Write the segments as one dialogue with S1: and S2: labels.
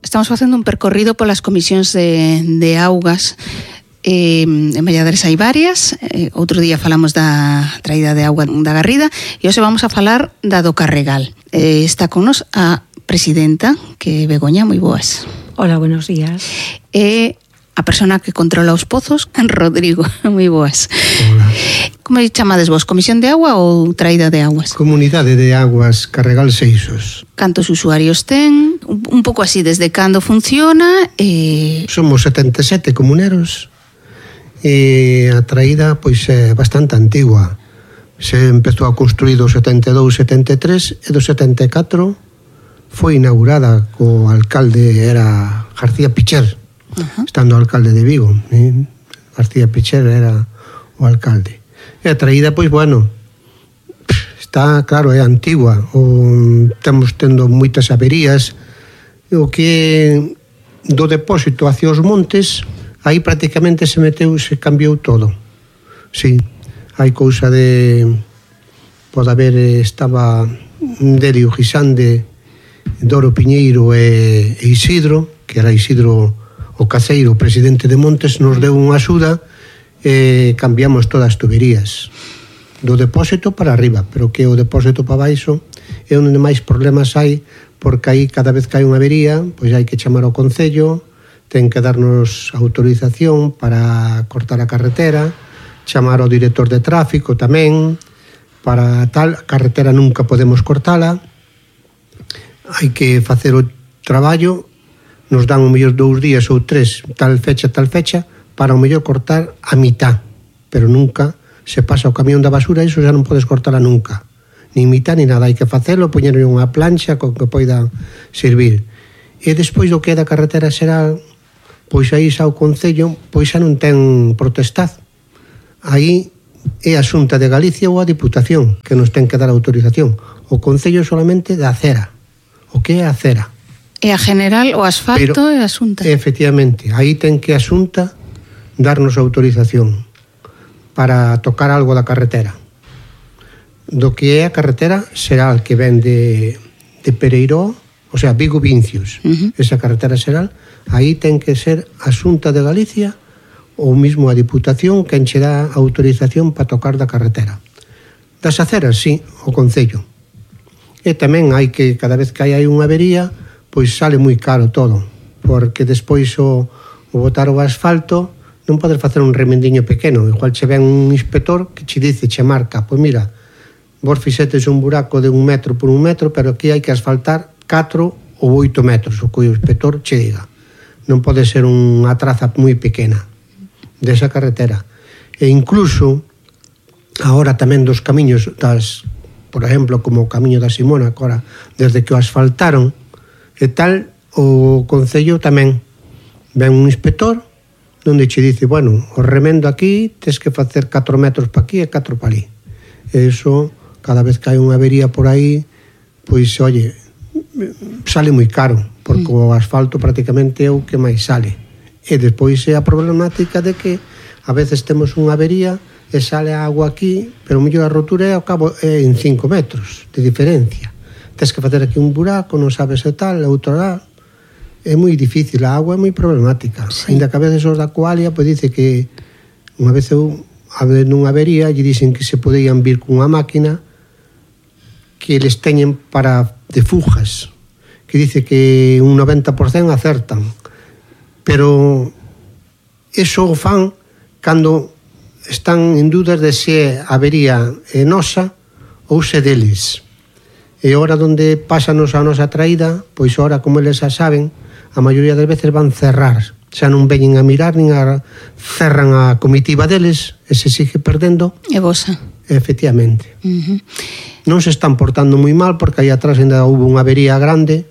S1: Estamos facendo un percorrido polas comisións de augas. En Valladares hai varias. Outro día falamos da traída de auga da Garrida e hoxe vamos a falar da do Carregal. Está con nos a presidenta, que é Begoña. Moi boas.
S2: Hola, buenos días.
S1: E a persona que controla os pozos, Rodrigo. Moi boas.
S3: Hola.
S1: Como chamades vos? Comisión de agua ou traída de aguas?
S3: Comunidade de Aguas Carregal Seixos.
S1: Cantos usuarios ten? Un pouco así, desde cando funciona?
S3: Somos 77 comuneros e a traída pois é bastante antigua. Se empezou a construir do 72-73 e do 74 foi inaugurada co alcalde, era García Picher, estando alcalde de Vigo. García Picher era o alcalde. E a traída, pois, bueno, está, claro, é antigua. Estamos tendo moitas averías. O que do depósito hacia os montes, aí prácticamente se cambiou todo. Sí, hai cousa de... Pode haber, estaba Derio Guisande, Doro Piñeiro e Isidro, que era Isidro o Caceiro, o presidente de Montes, nos deu unha axuda e cambiamos todas as tuberías do depósito para arriba, pero que o depósito para baixo é onde máis problemas hai, porque aí cada vez que hai unha avería, pois hai que chamar ao concello, ten que darnos autorización para cortar a carretera, chamar ao director de tráfico tamén, para tal, a carretera nunca podemos cortala, hai que facer o traballo, nos dan o mellor 2 días ou 3, tal fecha, para o mellor cortar a mitad, pero nunca se pasa o camión da basura, iso xa non podes cortala nunca, ni mitad ni nada, hai que facelo, poñerle unha plancha con que poida servir. E despois do que é da carretera xeral, pois aí xa o Concello, pois xa non ten protestad. Aí é a Xunta de Galicia ou a Diputación que nos ten que dar autorización. O Concello solamente da acera, o que é a acera.
S1: E a general, o asfalto e a Xunta.
S3: Efectivamente, aí ten que a Xunta darnos autorización para tocar algo da carretera. Do que é a carretera xeral que ven de Pereiró, o sea, Vigo-Vincios, esa carretera xeral, aí ten que ser a Xunta de Galicia ou mesmo a Diputación que enche dá autorización para tocar da carretera. Das aceras, sí, o Concello. E tamén hai que, cada vez que hai unha avería, pois sale moi caro todo, porque despois o botar o asfalto non podes facer un remendiño pequeno, igual che ven un inspector que che dice, che marca, pois mira, vos fixetes un buraco de 1 metro por 1 metro, pero aquí hai que asfaltar 4 ou 8 metros, o que o inspector che diga. Non pode ser unha traza moi pequena desa carretera. E incluso, agora tamén dos camiños das, por exemplo, como o camiño da Simona, agora, desde que o asfaltaron, e tal, o Concello tamén ven un inspector onde che dice, bueno, o remendo aquí tes que facer 4 metros pa aquí e 4 pa ali. E iso, cada vez que hai unha avería por aí, pois, oye, sale moi caro, porque o asfalto prácticamente é o que máis sale. E despois é a problemática de que a veces temos unha avería e sale a agua aquí, pero o mellor a rotura é ao cabo en 5 metros de diferencia. Tens que facer aquí un buraco, non sabes e tal, outro lá. É moi difícil, a agua é moi problemática. Sí. Ainda que a veces os da Coalia pois dice que unha vez eu habendo unha avería lle dicen que se podían vir cunha máquina que eles teñen para de fugas, que dice que un 90% acertan, pero eso o fan cando están en dúdas de se a avería é nosa ou se deles. E ora onde pásanos a nosa traída, pois ora como eles xa saben, a maioría das veces van cerrar, xa non veñen a mirar, nin a cerran a comitiva deles, e se sigue perdendo.
S1: E vosa.
S3: Efectivamente. Non se están portando moi mal, porque aí atrás ainda houve unha avería grande,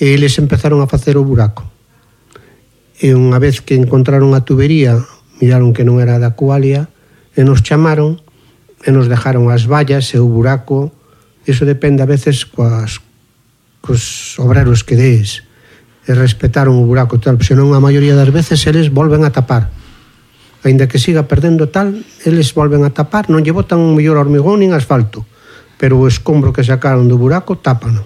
S3: e eles empezaron a facer o buraco. E unha vez que encontraron a tubería, miraron que non era da Coalia, e nos chamaron, e nos dejaron as vallas e o buraco. Iso depende a veces cos obreros que dees, e respetaron o buraco tal, senón a maioría das veces eles volven a tapar, aínda que siga perdendo tal, eles volven a tapar, non lle botan un mellor hormigón nin asfalto, pero o escombro que sacaron do buraco tápano.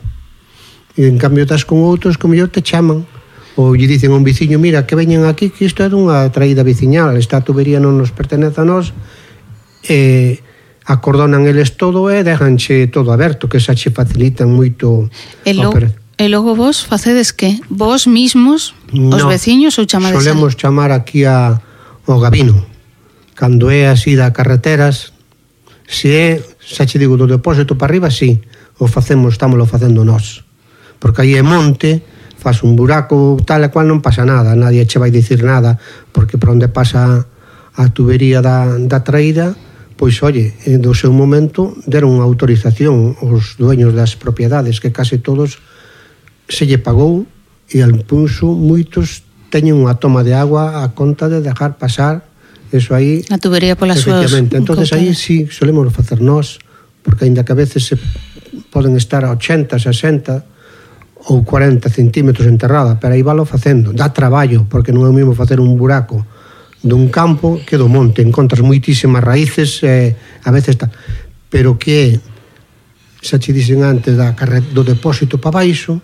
S3: E en cambio estás con outros que mellor te chaman ou lle dicen a un veciño, mira, que veñen aquí, que isto é dunha traída veciñal, esta tubería non nos pertenece a nós, e acordonan eles todo e dejanche todo aberto, que xa che facilitan moito
S1: a operación. E logo vos facedes que? Vos mismos, os veciños, ou chamades?
S3: Solemos chamar aquí ao Gabino. Cando é así da carreteras, se é, xa che digo, do depósito para arriba, sí, estámoslo facendo nós. Porque aí é monte, faz un buraco tal e cual non pasa nada, nadie che vai dicir nada, porque por onde pasa a tubería da traída, pois, oye, do seu momento deron unha autorización os dueños das propiedades, que case todos se lle pagou, e al punso moitos teñen unha toma de agua a conta de dejar pasar eso aí.
S1: A tubería polas súas.
S3: Entonces aí sí solemos facer nós, porque aínda que a veces se poden estar a 80, 60 ou 40 centímetros enterrada, pero aí valo facendo. Dá traballo, porque non é o mesmo facer un buraco dun campo que do monte. Encontras moitísimas raíces, a veces está. Pero que xa che dixen antes do depósito para baixo,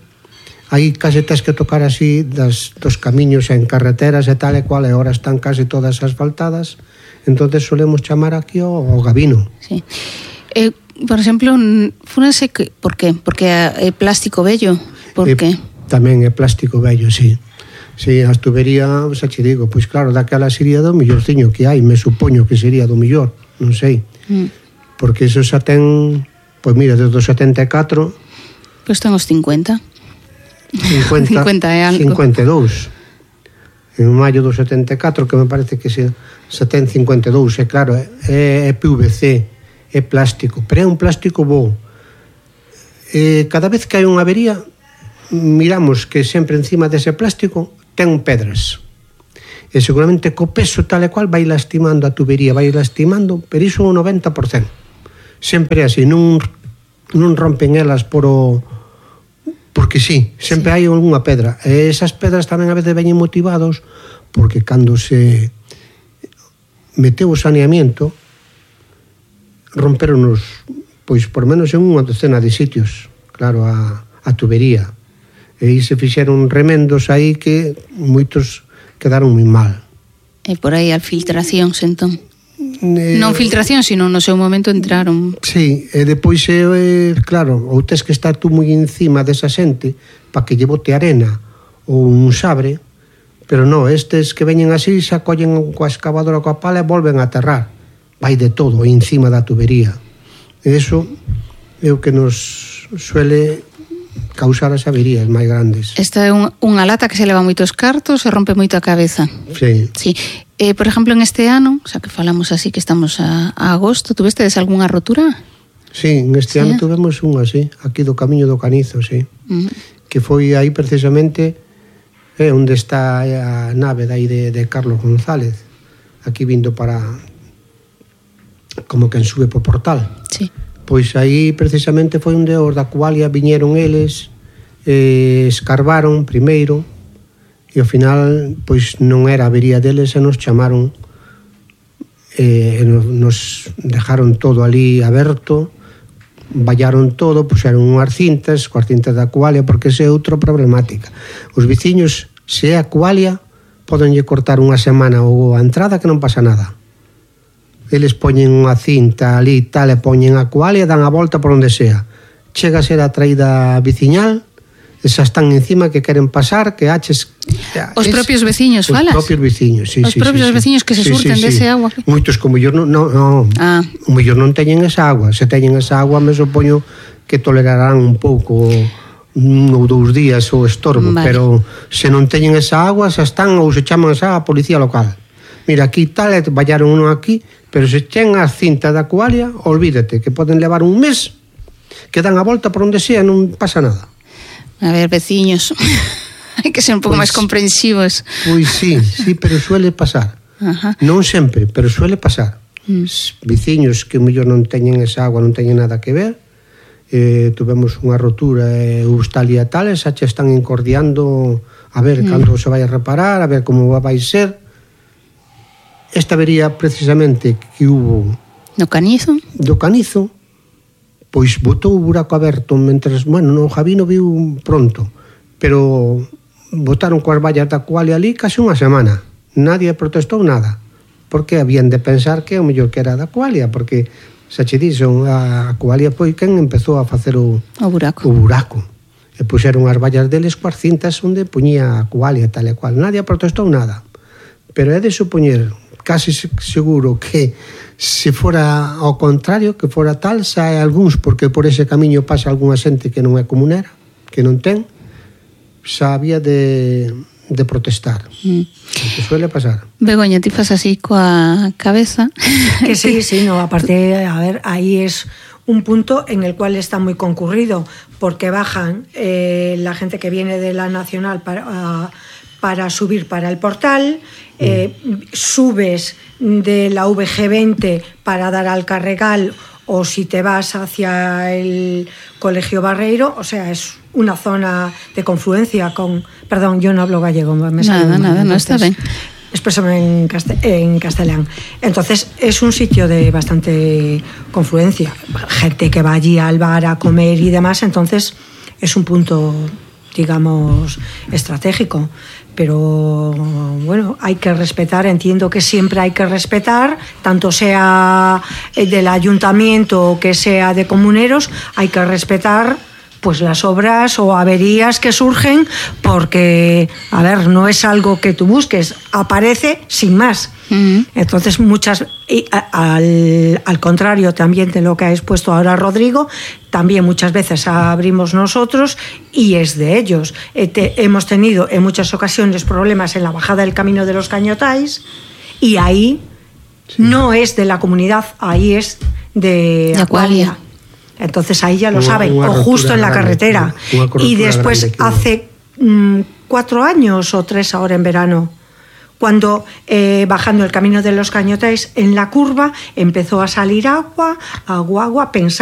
S3: aí case tens que tocar así dos camiños en carreteras e tal e cual, e ahora están case todas asfaltadas, entonces solemos chamar aquí ao Gabino.
S1: Sí. Por exemplo, fúnense, por qué? Porque é plástico vello? Por qué?
S3: Tamén é plástico vello, sí. Sí, as tubería, xa che digo, pois claro, daquela sería do millorciño que hai, me supoño que sería do millor, non sei. Porque eso xa ten, pois mira, desde o 74...
S1: Pois ten os 50.
S3: 50
S1: e algo.
S3: 52. En maio do 74, que me parece que se ten 52, e claro, é PVC, é plástico, pero é un plástico bo. Cada vez que hai unha avería, miramos que sempre encima dese plástico ten pedras. E seguramente co peso tal e cual vai lastimando a tubería, vai lastimando, pero iso o 90%. Sempre así, non rompen elas porque sí, sempre hai unha pedra. E esas pedras tamén a veces veñen motivados porque cando se meteu o saneamiento romperonos, pois por menos en unha docena de sitios, claro, a tubería. E aí se fixeron remendos aí que moitos quedaron moi mal.
S1: E por aí as filtracións, entón? Non filtración, sino no seu momento entraron.
S3: Sí, e depois, claro, ou tes que estar tú moi encima desa xente para que lle bote arena ou un sabre, pero non, estes que veñen así xa collen coa excavadora coa pala e volven a aterrar. Vai de todo encima da tubería. E iso é o que nos suele causar as averías máis grandes.
S1: Esta é unha lata que se leva moitos cartos e rompe moito a cabeza.
S3: Sí.
S1: Sí. Por exemplo, en este ano, xa que falamos así que estamos a agosto, tuvestedes algunha rotura?
S3: Sí, en este ano tuvemos unha, sí, aquí do Camiño do Canizo, sí. Que foi aí precisamente onde está a nave dai de Carlos González, aquí vindo para como quen sube por Portal.
S1: Sí.
S3: Pois aí precisamente foi onde os da Cualia viñeron eles, escarbaron primeiro, e ao final pois non era a avería deles, e nos chamaron, nos dejaron todo ali aberto, vallaron todo, puxeron unhas cintas, coas cintas da Cualia, porque esa é outra problemática. Os veciños, se é a Cualia, podenlle cortar unha semana ou a entrada que non pasa nada. Eles poñen unha cinta ali tal e poñen a Cualia e dan a volta por onde sea. Chega a ser a traída veciñal, esas están encima que queren pasar, que haches...
S1: Os propios veciños, falas?
S3: Os propios veciños, sí.
S1: Os propios veciños que se surten dese agua.
S3: Moitos que o mellor non, o mellor non teñen esa agua. Se teñen esa agua, me supoño que tolerarán un pouco, 1 ou 2 días o estorbo, pero se non teñen esa agua, xa están ou se chaman a policía local. Mira, aquí tal, vallaron uno aquí, pero se chen as cintas da Cualia, olvídate, que poden levar un mes, que dan a volta por onde sea, non pasa nada.
S1: A ver, veciños, hai que ser un pouco máis comprensivos.
S3: Pois sí, pero suele pasar. Non sempre, pero suele pasar. Veciños que mellor non teñen esa agua, non teñen nada que ver, tuvemos unha rotura e os tal e tales, xa che están encordiando a ver cando se vai a reparar, a ver como vai ser. Esta avería precisamente que hubo
S1: do Canizo,
S3: pois botou o buraco aberto mentres, bueno, no Javino viu pronto, pero botaron coas vallas da Acualia ali case unha semana. Nadie protestou nada, porque habían de pensar que o mellor que era da Acualia, porque xa che dixo, a Acualia foi quen empezou a facer o buraco. E puxeron as vallas deles coas cintas onde puñía a Acualia tal e cual. Nadie protestou nada. Pero é de supoñer, casi seguro, que se fora ao contrario, que fora tal, xa hai algúns, porque por ese camiño pasa algunha xente que non é comunera, que non ten, xa había de protestar. Que suele pasar.
S1: Begoña, ti fas así coa cabeza.
S2: Que sí, no, aparte, a ver, ahí es un punto en el cual está muy concurrido, porque bajan la gente que viene de la Nacional para subir para el portal, subes de la VG20 para dar al Carregal, o si te vas hacia el Colegio Barreiro, o sea, es una zona de confluencia con... Perdón, yo no hablo gallego.
S1: Nada, no está bien.
S2: Expresame en castellán. Entonces, es un sitio de bastante confluencia. Gente que va allí al bar a comer y demás, entonces es un punto, digamos, estratégico. Pero, bueno, hay que respetar, entiendo que siempre hay que respetar, tanto sea del ayuntamiento o que sea de comuneros, hay que respetar pues las obras o averías que surgen, porque, a ver, no es algo que tú busques, aparece sin más. Entonces, al contrario también de lo que ha expuesto ahora Rodrigo, también muchas veces abrimos nosotros y es de ellos. Hemos tenido en muchas ocasiones problemas en la bajada del Camino de los Cañotais, y ahí no es de la comunidad, ahí es de Acualia. Entonces ahí ya lo saben, o justo en la carretera. Y después hace 4 años o 3 ahora en verano, cuando bajando el Camino de los Cañotais en la curva empezó a salir agua, pensamos